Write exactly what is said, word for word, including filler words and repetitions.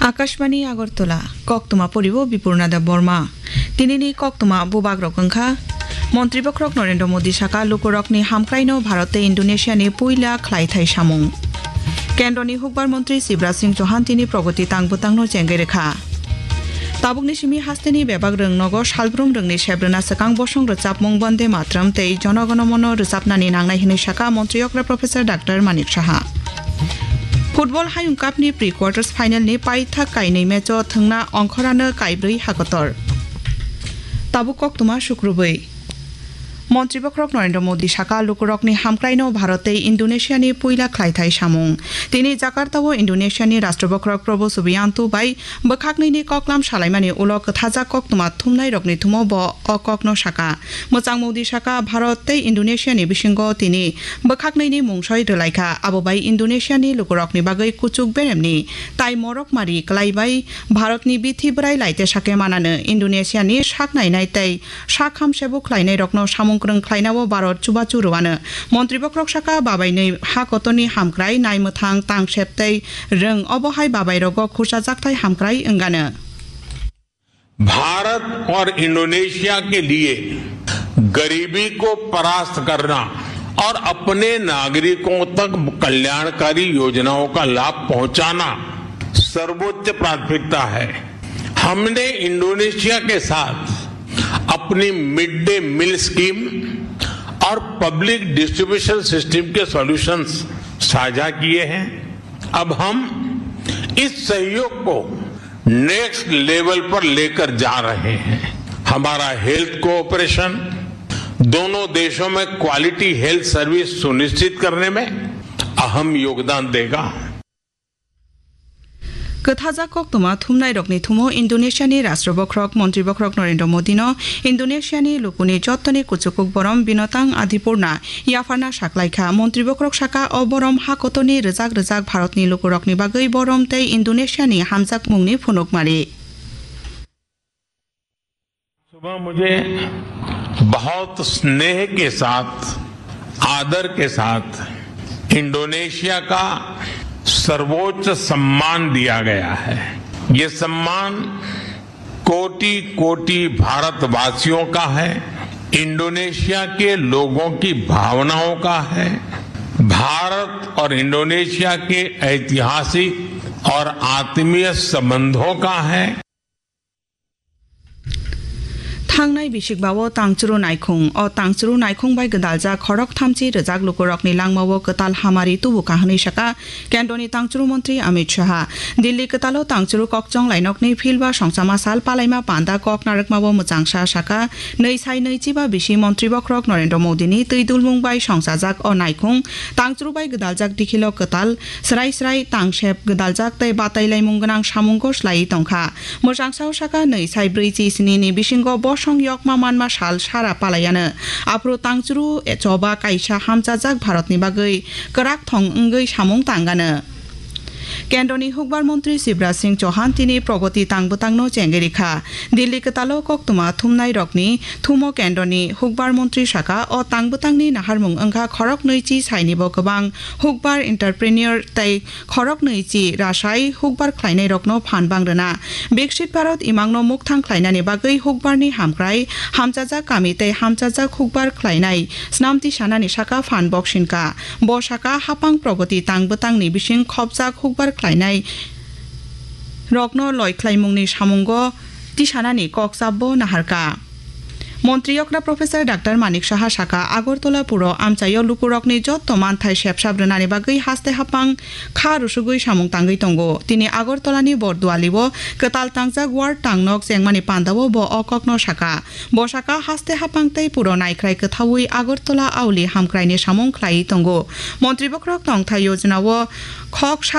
Akashbani Agartala, koktwma poribo Bipurna Debbarma. Tinini koktwma bubagrok wngkha, Montri bokhorok Narendra Modi saka lukurokni hamkraino Bharat tei Indonesiani puila khlaithai samung. Kendroni hukbar montri Shivraj Singh Chauhan tini progoti tang bwtangno chengwi rwkha. Tabukni simi hasteni bebak rwng nogo salbrum rwngni sebrwna swkang bosong rwchapmung Bonde Matram tei Jono Gono Mono rwchapnani nangnai hwnwi saka Montri okra Professor Doctor Manik Saha. Football Hayung Cup ni pre-quarters final ni paithak kainwi match o thwngna ongkhorano kaibrwi hakotor. Tabuk koktwma sukrubwi. Montri bokhorok Narendra Modi saka lukurokni hamkraino Bharat tei Indonesiani puila khlaithai samung. Tini Jakarta o Indonesiani Rashtra bokhorok Prabowo Subianto bai bwkhaknwini koklam salaimani ulo kwthajak koktwma thumnairokni thumo bo o kokno saka. Mwchang Modi saka Bharat tei Indonesiani bisingo tini bwkhaknwini mungsoi rwlaikha, abo bai Indonesiani lukurokni bagwi kuchuk beremni tai morok mari kwlaibai Bharatni bithi bwrai laite sake manano Indonesiani sak nainai tei sak hamsebo khlainairokno samung kwrwng khlainao Bharat chubachu rwano. Montri bokhorok saka babainwi ha kotorni hamkrai naimwthang tangsep tei rwng obo hai babairogo khurchajakthai hamkrai wngano. Bharat और इंडोनेशिया के लिए गरीबी को परास्त करना और अपने नागरिकों तक कल्याणकारी योजनाओं का लाभ पहुंचाना सर्वोच्च प्राथमिकता है। हमने इंडोनेशिया के साथ अपनी मिड डे मील स्कीम और पब्लिक डिस्ट्रीब्यूशन सिस्टम के सॉल्यूशंस साझा किए हैं। अब हम इस सहयोग को नेक्स्ट लेवल पर लेकर जा रहे हैं। हमारा हेल्थ कोऑपरेशन दोनों देशों में क्वालिटी हेल्थ सर्विस सुनिश्चित करने में अहम योगदान देगा। Kwthajak koktwma thumnairokni thumo Indonesiani Rashtra bokhorok Montri bokhorok Narendra Modino Indonesiani lukuni jottoni kuchukuk borom Binatang Adipurna yapharna saklaikha. Montri bokhorok saka o borom ha kotorni rwjak rwjak Bharatni lukurokni bagwi borom tei Indonesiani hamjakmungni phunukmari. सुबह मुझे बहुत स्नेह के साथ, आदर के साथ इंडोनेशिया का सर्वोच्च सम्मान दिया गया है। ये सम्मान कोटि कोटि भारतवासियों का है, इंडोनेशिया के लोगों की भावनाओं का है, भारत और इंडोनेशिया के ऐतिहासिक और आत्मीय संबंधों का है। Thangnai bisikbao tangchuru naikhung. O tangchuru naikhung bai gwdaljak khorok thamchi rwjak lukurokni langmao kwtal hamari tubu ka hwnwi saka Kendroni tangchuru montri Amit Shah. Delhi kwtalo tangchuru kokchong lainokni field ba songchama sal palaima panda kok narwkmao mwchangsa saka nwi sai nwi chiba bisi montri bokhorok Narendra Modini twi dulmung bai songchajak o naikhung tangchuru bai gwdaljak dikhilo kwtal srai srai tangsep gwdaljak tei batai laimung gwnang samungo slaiwi tongkha. Mwchangsa o saka nwi sai brwi chi sni ni bisingo bosong yokma manma sal sara palaiano. Aphuru tangchuru choba kaisa hamchajak Bharatni bagwi kwrak thong wngwi samung tangano. Kendroni hukbar montri Shivraj Singh Chauhan tini progoti tang bwtangno chengwi rikha. Delhi kwtalo koktwma thumnairokni thumo kendroni hukbar montri saka o tang bwtangni naharmung wngkha khorok nwi chi sainibo kwbang hukbar entrepreneur tei khoroknwi chi rasai hukbar khlainairokno phan bang rwna. Biksit Bharat imangno mukthang khlainani bagwi hukbarni hamkrai hamchajak kami tei hamchajak hukbar khlainai snam tisanani saka phan boksinka. Bo saka hapang progoti tang bwtangni bising khopjak hukbar khlainai rokno loi khlaimungni samungo tisanani kok chapbo naharka. Montri okra Professor Doctor Manik Saha saka, Agartala puro amchaio lukurokni jotto manthai sepsap rwnani bagwi haste hapang kha rusugwi samung tangwi tongo. Tini Agartalani Bordualio kwtal tangjak ward tangnok chengmani pandao bo o kokno saka. Bo saka haste hapang tei puro naikhrai kwthaui Agartala auli hamkraini samung khlaiwi tongo. Montri bokhorok tongthai yojnao khok